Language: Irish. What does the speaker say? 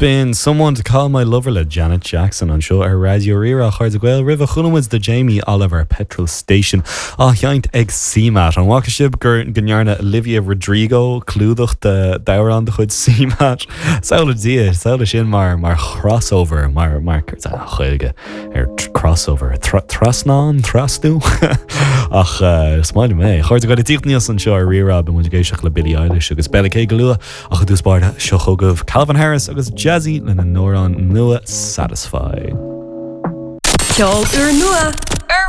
B'in Someone to Call My Lover le Janet Jackson anseo ar Raidió Rí-Rá, a chairde Gael. Roimhe chuala muid do Jamie Oliver Petrol Station á sheinnt ag CMAT. An bhfaca sibh gur go ndearna Olivia Rodrigo clúdach d'amhrán de chuid CMAT? Samhlaigh Dia, samhlaigh sin mar mar chrossover, mar mar céard é an Ghaeilge ar crossover? Trasnán? Trasnú? Ach is maith liom é. A chairde Gael, ag tíocht aníos anseo ar Rí-Rá beidh muid ag éisteacht le Billie Eilish agus Bella K go luath. Ach i dtús báire, seo chugaibh Calvin Harris agus Jazzy lena n-amhrán nua Satisfy. Ceol úrnua ar.